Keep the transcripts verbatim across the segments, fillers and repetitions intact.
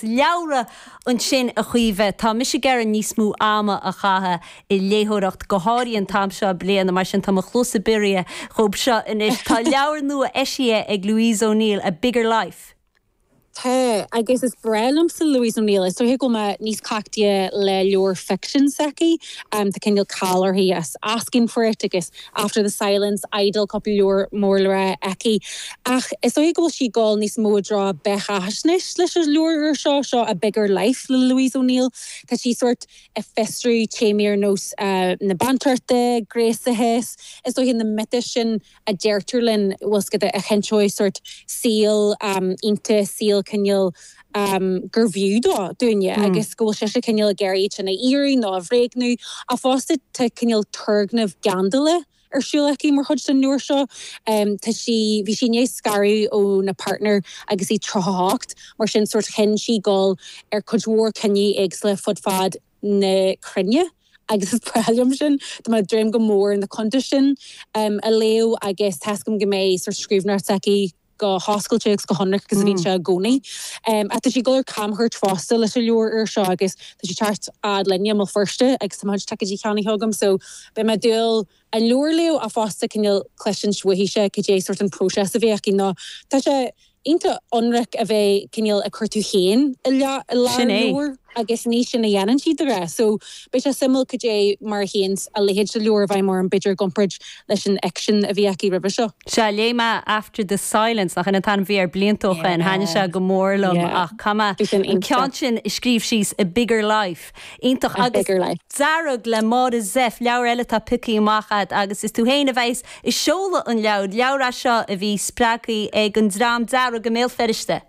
Leabhra ansin a Chaoimhe tá mise ag iarraidh níos mó ama a chaitheamh i léitheoireacht go háirithe an t-am seo bliana mar sin tá mo chluasa bodhar dhóibh seo anois tá leabhar nua eisithe ag Louise O'Neill a Bigger Life. Tá agus is breá liomsa Louise O'Neill is dóiche go mé níos cleachtaithe le leabhar fiction s'aici um, tá cineál cáil uirthi as Asking for It agus After the Silence Idle cúpla leabhar mór le rá aici ach is dóiche go bhfuil sí ag dul níos mó dra beathaisnéis leis an leabhar seo seo a Bigger Life le Louise O'Neill Tá sí sort ag fiosrú téamaí ar nós uh, na bantraíochta, gréasachas is dóiche na miotais sin a deirtear linn bhfuil a chinnteoidh sort saol um, iontach saol cineál um, gur bhfiú dó dúinne mm. agus go bhfuil sé sé cineál géirí na irí ná a bhréagnú a fosta tá cineál turgnamh geandala ar siúl aici mar chuid den leabhar seo um, Tá sí bhí sí ag scaradh óna partner agus í tríocha mar sin sort chinn sí dul ar cuid mhór cinní éagsúla fud fad na cruinne. agus is breá liom sin Tá mé ag dréim go mór na cuntais sin um, a léamh agus tascam go méid sort scríbhneoireacht aici go hoscailte agus go hionraic agus a bhíonn sé i gcónaí. Um, a tá sí ag dul camchuairt fosta leis an leabhar ar seo agus tá sí teacht fhad linne i mBéal Feirste agus tá ticéidí ceannaithe agam so beidh mé dúil an leabhar a léamh a fosta cineál cloisint uaithi cad é sort an próiseas a bhí aici ná Tá sé iontach ionraic a bheith cineál ag cur tú féin i lár leabhar agus ní sin a dhéanann siad rá. So beidh sé suimiúil cad é mar chéan a leithéid de leabhar bheith mar an b'fhéidir i gcomparáid leis an fhicsean a bhí aici roimhe seo. Se léigh mé after the silence nach an tan bhí ar bliantócha an thaitnigh sé go mór liom ach cuma an ceann sin scríobh síos a bigger life. Iontach agus Dearg le Máire Zepf leabhar eile atá pioctha amach agat agus is tú féin a bheas ag seoladh an leabhar leabhar seo a bhí spreagtha ag an Dream Dearg i mBéal Feirste.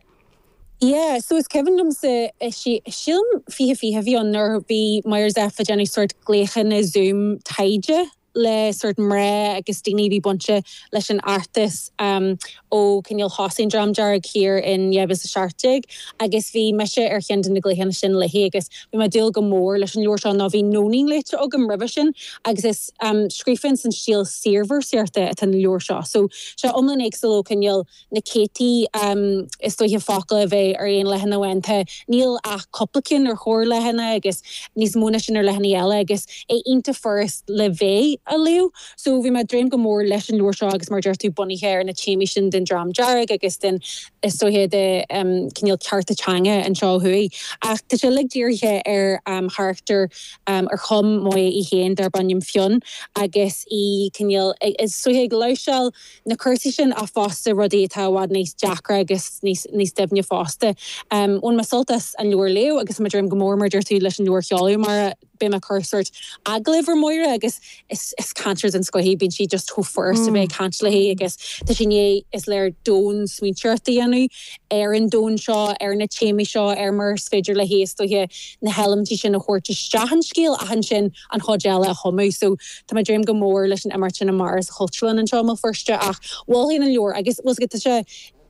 Yeah, so is cuimhin liomsa sílim fiche fiche bhí an nuair bhí Máire Zepf ag déanamh sort glaochanna Zoom taighde le sort mná agus daoine bhí bainte leis an fheachtas um, ó cineál thosaigh an Dream Dearg thiar in dhá mhíle a seacht déag agus bhí mise ar cheann de na glaochanna sin léi agus bhí mé dúil go mór leis an leabhar seo ná bhí Nóinín léite agam roimhe sin agus is um, scríofa san stíl saorvéarsaíochta atá an leabhar seo. So sé iomlán éagsúil ó cineál na céadtaí um, is dóiche focal a bheith ar aon leathanach amháin níl ach cúpla ceann ar chorrleathanach agus níos mó ná sin ar leathanaigh eile agus é iontach furast le bheith a léamh. So bhí mé dréim go mór leis an leabhar seo agus mar deir tú bunaithe ar na téamaí sin den Dream Dearg agus den is dóiche de um, cineál cearta teanga anseo thuaidh. Ach tá sé like dírithe ar um, charachtar um, ar chum Moya í féin darb ainm Fionn agus í cineál is dóiche ag láimhseáil na cúrsaí sin a fosta rudaí atá i bhfad níos deacra agus níos níos doimhne fosta. Um, Bhain mé sult as an leabhar a léamh agus mar dréim go mór mar deir tú leis an leabhar a sheoladh mar beidh mé ag cur sort agallamh ar Mháire agus is, is cainteoir den scoth í bíonn sí just chomh furast a bheith ag caint léi agus tá sí né is léir domhan smaointeoireacht a dhéanamh ar an domhan seo ar na téamaí seo ar mar is féidir le héis dóiche na heilimintí sin a thabhairt isteach an scéal ach ansin an chuid eile a chumadh so tá mé dréim go mór leis an imeacht sin amárach sa Chultúrlann anseo i mBéal Feirste ach mholfainn an leabhar agus was tá sé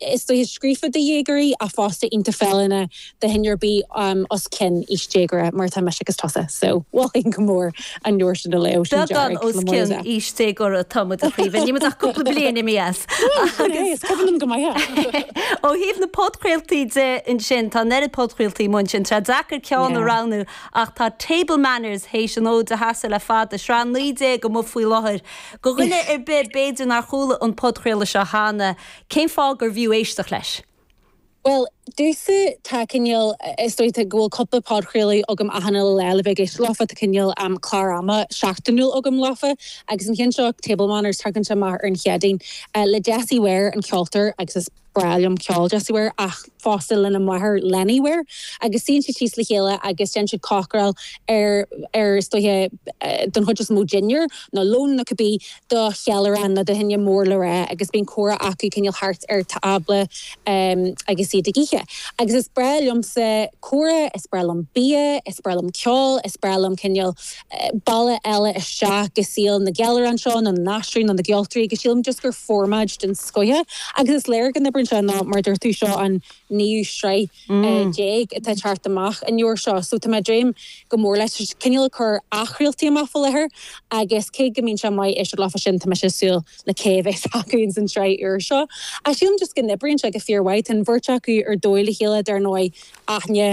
is dóiche scríofa do dhéagóirí a fosta iontach feiliúnach do dhuine ar bith um, os cionn aois déagóra mar tá mise agus tusa so mholfainn go mór an leabhar sin a léamh sin Beagán os cionn aois déagóra tá muid a Chaoimhe, ní ach cúpla bliain imithe as. Agus cuimhin go maith. Ó thaobh na podchraoltaí de ansin tá neart podchraoltaí mar sin tá deacair ceann a roghnú ach tá Table Manners théis an fhód a sheasamh le fada sraith naoi déag amuigh faoi láthair. Go dhuine ar bith b'fhéidir nár chuala an podchraoladh seo cheana, cén fáth gur bhfiú éisteacht leis. Well, dúsa tá cineál is dóiche go bhfuil cúpla podchraoladh agam achan lá le bheith ag éisteacht leofa tá cineál um, clár ama seachtainiúil agam leofa agus an ceann seo Table Manners tagann sé amach ar an Chéadaoin uh, le Jessie Ware an ceoltóir agus is breá liom ceol Jessie Ware ach fosta lena máthair Lenny Ware agus suíonn siad síos le chéile agus déanann siad cócaráil ar ar is dóiche uh, don chuid is mó dinnéar nó lón nó cibé do cheiliúradh nó do dhuine mór le rá agus bíonn comhrá acu cineál thart ar tábla um, agus iad ag ithe. Agus is breá liomsa comhrá, is breá liom bia, is breá liom ceol, is breá liom cineál uh, bealach eile isteach go saol na gceiliúrán seo na náisiún na gceoltóirí agus sílim just gur formáid den scoth agus is léir go n-oibríonn sé ná mar dúirt tú seo an naoú sraith déag atá teacht amach an uair seo, so tá mé ag dréim go mór leis. Cineál ag cur athchraoltaí amach faoi láthair agus cé go mbíonn sé maith éisteacht leofa sin tá mise ag súil le cé a bheas acu ins an tsraith úr seo. Ach sílim just go n-oibríonn sé go fíormhaith, tá an bheirt acu ar dóigh le chéile dar ndóigh, aithne